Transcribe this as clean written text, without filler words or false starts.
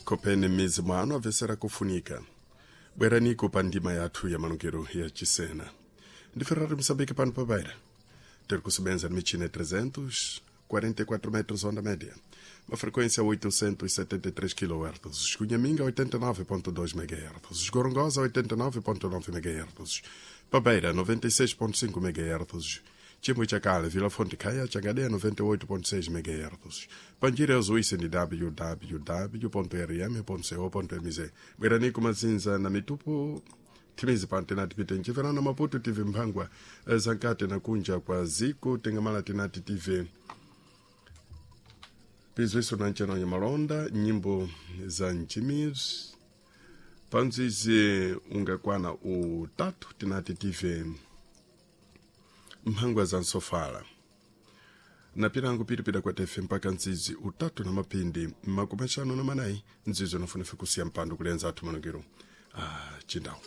Kopeni m'mizi mwanu amvesera kufunika. Bweraniko pa ndima yathu ya malungiro ya chisena. Ndi Ferrari Moçambique pano pa Beira. Ter kusebenza michina 344 metros onda média. Uma frequência 873 kHz. Cunhaminga 89.2 MHz. Gorongosa 89.9 MHz. Pabeira 96.5 MHz. Chimwe Chakale, Vila Fonte Caia, Changadeia 98.6 MHz. Panjira Zuíça de www.rm.co.mz. Bweranico Mazinza na Mitupo timizi pano tinati pite nchiverano Maputo tive mphangwa zankati na kunja kwa ziko tengamala tinati tive pizwiso na nchano ya malonda nyimbo za nchimizi panzizi ungakwana utatu tinati tive mphangwa za nsofala na pilango pilipita kwa tefe mpaka nzizi utatu na mapindi 54 nzizi unafunefe kusiya mpando kulenza athu manongero chindawu.